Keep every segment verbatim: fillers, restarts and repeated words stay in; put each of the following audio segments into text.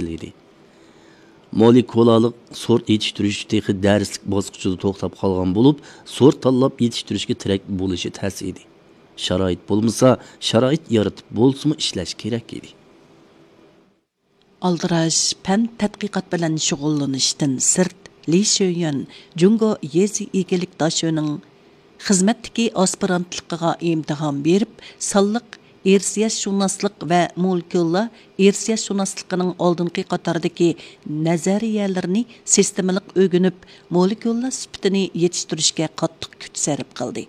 ئىدى. مولېكۇلالىق سورت يېتىشتۈرۈش تېخى دەرسلىك باسقۇچىدا توختاپ قالغان بولۇپ، سورت تاللاپ يېتىشتۈرۈشكە تىرەك بولۇشى تەس ئىدى. شارائىت بولمىسا، شارائىت يارىتىپ بولسىمۇ ئىشلەش كېرەك ئىدى. ئالدىراش پەن تەتقىقات بىلەن شۇغۇللىنىشتىن سىرت، لى شۆيۈەن جۇڭگو يېزا ئىگىلىك داشۆنىڭ خىزمەتتىكى ئاسپىرانتلىقىغا ئىمتىھان بېرىپ، سانلىق ئىرسىيەتشۇناسلىق ۋە مولېكۇللار ئىرسىيەتشۇناسلىقىنىڭ ئالدىنقى قاتاردىكى نەزەرىيەلىرىنى سىستېمىلىق ئۆگىنىپ، مولېكۇللار سۈپىتىنى يېتىشتۈرۈشكە قاتتىق كۈچ سەرپ قىلدى.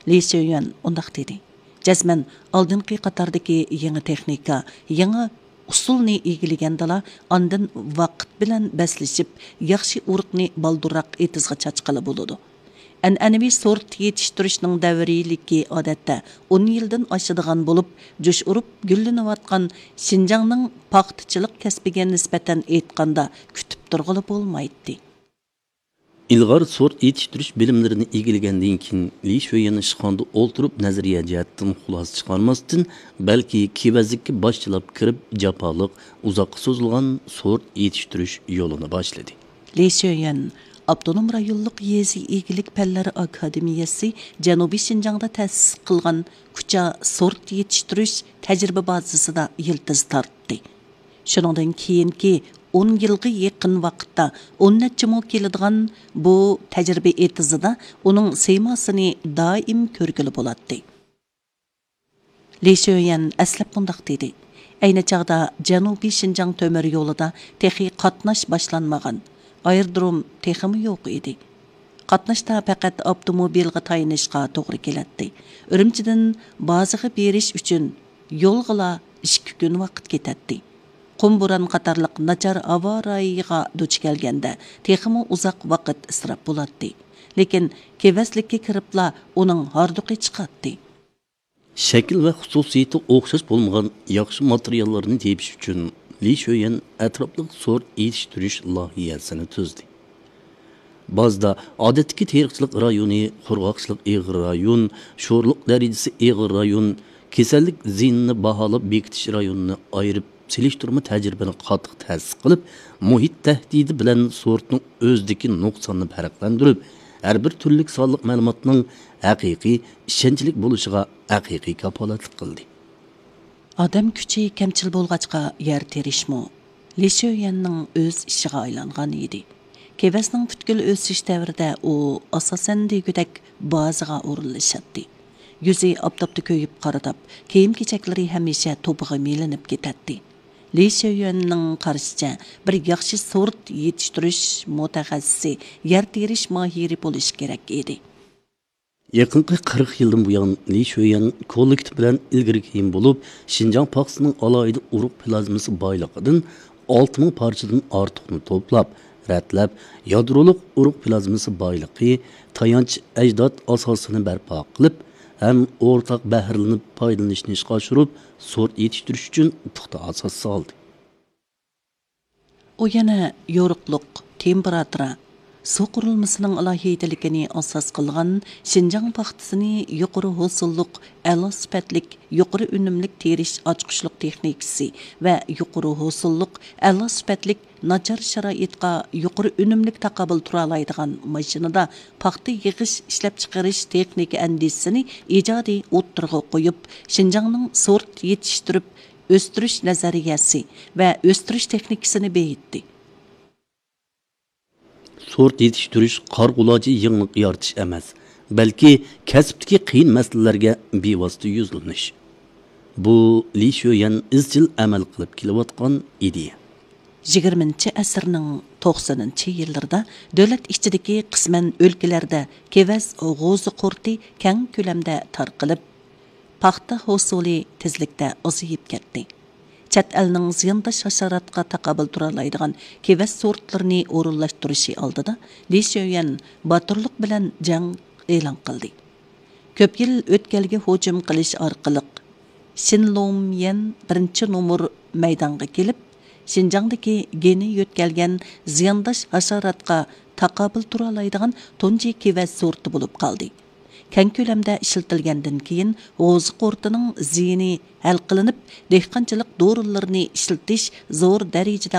لى شۆيۈەن ئۇنداق دېدى، جەزمەن ئالدىنقى قاتاردىكى يېڭى تېخنىكا، يېڭى ئۇسۇلنى ئىگىلىگەندىلا، ئاندىن ۋاقىت بىلەن بەسلىشىپ، ياخشى ئۇرۇقنى بالدۇرراق ئېتىزغا چاچقىلى بولىدۇ. ئەنئەنىۋى سورت يېتىشتۈرۈشنىڭ دەۋرىيلىكى ئادەتتە ئون يىلدىن ئاشىدىغان بولۇپ، جۇش ئۇرۇپ گۈللىنىۋاتقان شىنجاڭنىڭ پاختىچىلىق كەسپىگە نىسبەتەن ئېيتقاندا، كۈتۈپ تۇرغىلى بولمايتتى. ئىلغار سورت يېتىشتۈرۈش بىلىملىرىنى ئىگىلىگەندىن كېيىن، لى شۆيۈەن ئىشخانىدا ئولتۇرۇپ نەزەرىيە جەھەتتىن خۇلاسە چىقارماستىن، بەلكى كېۋەزلىككە باشچىلاپ كىرىپ، جاپالىق، ئۇزاققا سوزۇلغان سورت يېتىشتۈرۈش يولىنى باشلىدى. لى شۆيۈەن ئاپتونوم رايونلۇق يېزا ئىگىلىك پەنلىرى ئاكادېمىيەسى جەنۇبىي شىنجاڭدا تەسىس قىلغان كۇچا سورت يېتىشتۈرۈش تەجرىبە بازىسىدا يىلتىز تارتتى. شۇنىڭدىن كېيىنكى ئون يىلغا يېقىن ۋاقىتتا ئون نەچچە مو كېلىدىغان بۇ تەجرىبە ئېتىزىدا ئۇنىڭ سىيماسىنى دائىم كۆرگىلى بولاتتى. لى شۆيۈەن ئەسلەپ مۇنداق دېدى، ئەينى چاغدا جەنۇبىي شىنجاڭ تۆمۈر يولىدا تېخى قاتناش باشلانمىغان، ئايرودروم تېخىمۇ يوق ئىدى. قاتناشتا پەقەت ئاپتوموبىلغا تايىنىشقا توغرا كېلەتتى. ئۈرۈمچىدىن بازىغا بېرىش ئۈچۈن يولغىلا ئىككى كۈن ۋاقىت كېتەتتى. قۇم بوران قاتارلىق ناچار ھاۋا رايىغا دۇچ كەلگەندە تېخىمۇ ئۇزاق ۋاقىت ئىسراپ بولاتتى. لېكىن كېۋەزلىككە كىرىپلا ئۇنىڭ ھاردۇقى چىقاتتى. شەكىل ۋە خۇسۇسىيىتى ئوخشاش بولمىغان ياخشى ماتېرىياللارنى تېپىش ئۈچۈن لى شۆيۈەن ئەتراپلىق سورت يېتىشتۈرۈش لايىھەسىنى تۈزدى. بازدا ئادەتتىكى تېرىقچىلىق رايونى، قۇرغاقچىلىق ئېغىر رايون، شورلۇق دەرىجىسى ئېغىر رايون، كېسەللىك زىيىنىنى باھالاپ بېكىتىش رايونىنى ئايرىپ سېلىشتۇرما تەجرىبىنى قاتتىق تەسىس قىلىپ، مۇھىت تەھدىتى بىلەن سورتنىڭ ئۆزىدىكى نۇقساننى پەرقلەندۈرۈپ، ھەر بىر تۈرلۈك سانلىق مەلۇماتنىڭ ھەقىقىي، ئىشەنچلىك بولۇشىغا ھەقىقىي كاپالەتلىك قىلدى. ئادەم كۈچى كەمچىل بولغاچقا، يەر تېرىشمۇ لى شۆيۈەننىڭ ئۆز ئىشىغا ئايلانغان ئىدى. كېۋەزنىڭ پۈتكۈل ئۆسۈش دەۋرىدە ئۇ ئاساسەن دېگۈدەك بازىغا ئورۇنلىشاتتى. يۈزى ئاپتاپتا كۆيۈپ قارىداپ، كىيىم-كېچەكلىرى ھەمىشە توپىغا مىلىنىپ كېتەتتى. لى شۆيۈەننىڭ قارىشىچە، بىر ياخشى سورت يېتىشتۈرۈش مۇتەخەسسىسى، يەر تېرىش ماھىرى بولۇشى كېرەك ئىدى. يېقىنقى قىرىق يىلدىن بۇيان، لى شۆيۈەن كوللېكتىپ بىلەن ئىلگىرى كېيىن بولۇپ، شىنجاڭ پاختىسىنىڭ ئالاھىدە ئۇرۇق پلازمىسى بايلىقىدىن ئالتە مىڭ پارچىدىن ئارتۇقنى توپلاپ، رەتلەپ، يادرولۇق ئۇرۇق پلازمىسى بايلىقى، تايانچ ئەجداد ئاساسىنى بەرپا قىلىپ ھەم ئورتاق بەھرىلىنىپ پايدىلىنىشنى ئىشقا ئاشۇرۇپ، سورت يېتىشتۈرۈش ئۈچۈن پۇختا ئاساس سالدى. ئۇ يەنە يورۇقلۇق، تېمپېراتۇرا، سۇ قۇرۇلمىسىنىڭ ئالاھىدىلىكىنى ئاساس قىلغان شىنجاڭ پاختىسىنى يۇقىرى ھوسۇللۇق، ئەلا سۈپەتلىك، يۇقىرى ئۈنۈملۈك تېرىش ئاچقۇچلۇق تېخنىكىسى ۋە يۇقىرى ھوسۇللۇق، ئەلا سۈپەتلىك، ناچار شارائىتقا يۇقىرى ئۈنۈملۈك تاقابىل تۇرالايدىغان ماشىنىدا پاختا يىغىش، ئىشلەپچىقىرىش تېخنىكا ئەندىزىسىنى ئىجادىي ئوتتۇرىغا قويۇپ، شىنجاڭنىڭ سورت يېتىشتۈرۈپ ئۆستۈرۈش نەزەرىيەسى ۋە ئۆستۈرۈش تېخنىكىسىنى بېيىتتى. سورت يېتىشتۈرۈش قارىغۇلاچى يېڭىلىق يارىتىش ئەمەس، بەلكى كەسىپتىكى قىيىن مەسىلىلەرگە بىۋاسىتە يۈزلىنىش. بۇ، لى شۆيەن ئىزچىل ئەمەل قىلىپ كېلىۋاتقان ئىدىيە. يىگىرمىنچى ئەسىرنىڭ توقسىنىنچى يىللىرىدا دۆلەت ئىچىدىكى، قىسمەن ئۆلكىلەردە كېۋەز غوزا قۇرتى كەڭ كۆلەمدە تارقىلىپ، پاختا ھوسۇلى تېزلىكتە ئازىيىپ كەتتى. چەت ئەلنىڭ زىيانداش ھاشاراتقا تاقابىل تۇرالايدىغان كېۋەز سورتلىرىنى ئورۇنلاشتۇرۇشى ئالدىدا لى شۆيۈەن باتۇرلۇق بىلەن جەڭ ئېلان قىلدى. كۆپ يىل ئۆتكەلگە ھۇجۇم قىلىش ئارقىلىق، شىن لوميەن بىرىنچى نومۇر مەيدانغا كېلىپ، شىنجاڭدىكى گېنى يۆتكەلگەن زىيانداش ھاشاراتقا تاقابىل تۇرالايدىغان تۇنجى كېۋەز سورتى بولۇپ قالدى. كەڭ كۆلەمدە ئىشلىتىلگەندىن كېيىن، غوزا قۇرتىنىڭ زىيىنى ھەل قىلىنىپ، دېھقانچىلىق دورىلىرىنى ئىشلىتىش زور دەرىجىدە